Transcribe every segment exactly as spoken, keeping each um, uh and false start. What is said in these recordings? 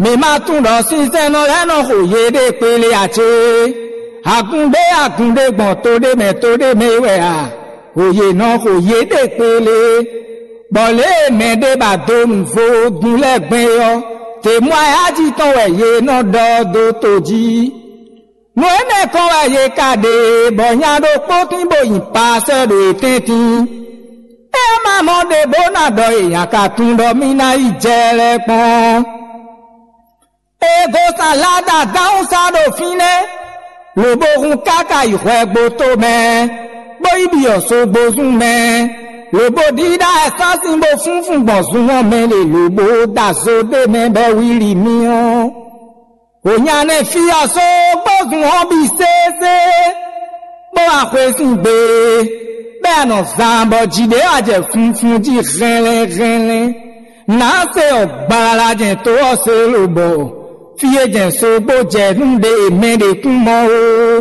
Mi ma tunwun ɖɔ sinsɛnnɔ lɛ́ɛ nɔ xo yéɖée kpélé ǎ cé? Agun ɖé agun ɖé gbɔn to ɖé mɛ to ɖé mɛ é wɛ a? Xo yě nɔ xo yéɖée kpélé, bɔ lě e mɛ ɖé ba dó nǔ vodún lɛ́ɛ gbɛn é ɔ́, tě mɔ ayájí tɔn wɛ yě nɔ ɖɔ dó to jí. Nǔ énɛ́ kɔn wɛ yě ka ɖe, bɔ nya ɖokpó tín bó nyi pasɛ́ ɖo yě tɛ́ntin. É ma mɔ ɖě bó ná ɖɔ è nǎ ka tunwun ɖɔ mì ná yi jɛ lɛ́ɛ kpɔ́n. È gosǎn Lada dǎhúnsá ɖo fínɛ́, lobo hun káká yi hwɛgboto mɛ, bó yi byɔ̌ sógbozún mɛ, lobo ɖíɖá ɛsásin bó fúnfún gbɔn zun ɔ́ mɛ lě, lobo ɖo azó ɖé mɛ bɔ é wlí mì ɔ́. Wǒ nya nɛ́ fí ɔ́ sógbozún ɔ́ bǐ sésé, bó wá xwé sín gbe, bɔ é nɔ zán bɔ jǐ ɖé wá jɛ funfun jí hɛnlɛ́n hɛnlɛ́n. Nǎ se ɔ́ gbala jɛn tó ɔ́ se lobɔ fí e jɛn sógbó jɛ nú ɖe e mɛ ɖě kún mɔ ó.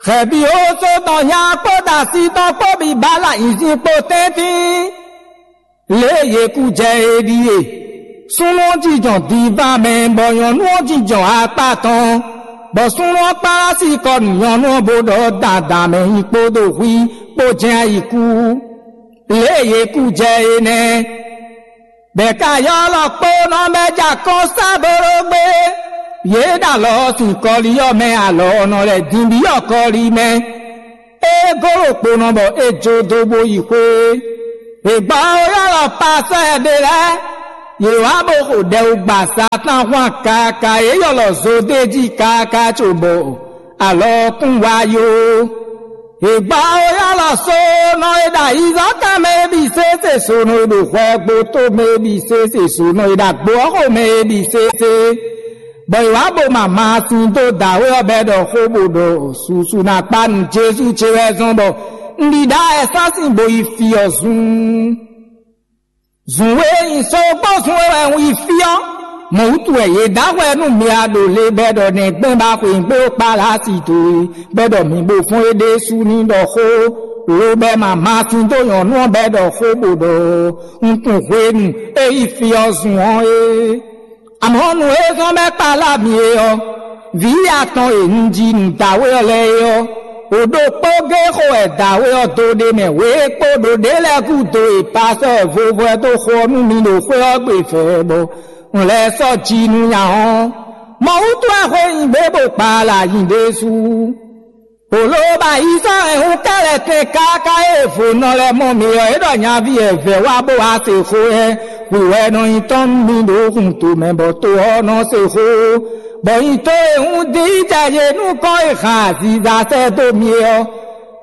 Xɛ̌ví ó só tɔn nya kpó dasí tɔn kpó bǐ ba la nyǐzín kpó tɛ́ntin. Lě e yě kú jɛ é ɖíe: súnnu ɔ́ jínjɔ́n divan mɛ, bɔ nyɔ̌nu ɔ́ jínjɔ́n akpá tɔn, bɔ súnnu ɔ́ kpán wá sí kɔ nú nyɔ̌nu ɔ́, bó ɖɔ dandan mɛ nyi kpódó hwí kpó jɛ́n ayǐ kú. Lě e yě kú jɛ é nɛ́. Bɛ̌ ka ylɔ́ kpónɔ bɛ́ jɛ akɔ́n sá bóɖó gbé. Yě ɖo alɔ ɔ́ sín kɔlí ɔ́ mɛ, alɔ ɔ́ nɔ lɛ́ din byɔ́ kɔlí mɛ. É gó ɖo kponɔ bɔ é jó dó bó yi xwé. È gbɔ ó ylɔ́ pasɔ́ ɛ ɖé lɛ́ɛ, yě wá bó xo ɖɛ wú gba Satáan hwan káká, yě ylɔ́ zó d'é jí káká cóbɔ alɔ ɔ́ kún wá yó. È gbɔ ó ylɔ́ sónɔ e ɖo ayizɔ́kan mɛ é bǐ sésé, sónɔ e ɖo hwɛgboto mɛ é bǐ sésé, sónɔ e ɖo agbo ɔ́ xo mɛ é bǐ sésé. Bɔ è wǎ bo ma maasin dó dǎwe ɔ́ bɔ é ɖɔ xó bó ɖɔ susu ná kpá nú Jezu ce wɛ zɔ́n bɔ un ɖi ɖa ɛsásin bo yi fí ɔ́ zun. Zun e nyi sógbó zun e wɛ un yi fí ɔ́, mɔ̌ wútu wɛ yě dó ahwɛ nú mi a ɖo le bɔ é ɖɔ nɛgbɛ́n ba xweyǐgbe kpá Lasi dó e, bɔ é ɖɔ mi bo fɔ́n é ɖésú ní ɖɔ xó, lobɔ ma maasin dó nyɔ̌nu ɔ́ bɔ é ɖɔ xó bó ɖɔ un tunwun hwenu e yi fí ɔ́ zun ɔ́ é. Amɔ̌ nǔ e zɔ́n bɔ é kpalá mi é ɔ́, vǐ atɔn e un ji nǔ dǎwe ɔ́ lɛ́ɛ é ɔ́, wǒ ɖokpó géé xo wɛ dǎwe ɔ́ dó ɖ'é mɛ wě kpó ɖo ɖě lɛ́ɛ gúdo e pasɔ́ e vovo ɛ dó xo ɔ́ nú mi ɖo xwé ɔ́ gbe vɛ̌ bɔ un lɛ́ sɔ́ ji nú nya ɔ́. Mɔ̌ wútu wɛ xwe nyi gbě bó kpalá nyi ɖésú. Bǒ ló ba yi sɔ́ hɛn hú kɛ́lɛtɛn káká e vo nɔ lɛ́ɛ mɔ mi ɔ́, é ɖɔ nyaví e vɛ̌ wá bó wá se xó ɛ, hwi wɛ nɔ nyí tɔn nú mi ɖo hun tomɛ, bɔ to ɔ́ nɔ se xó, bɔ nyi to e hun dín yi jɛ yě nukɔn e hɛn aziza sɛ́ dó mi é ɔ́.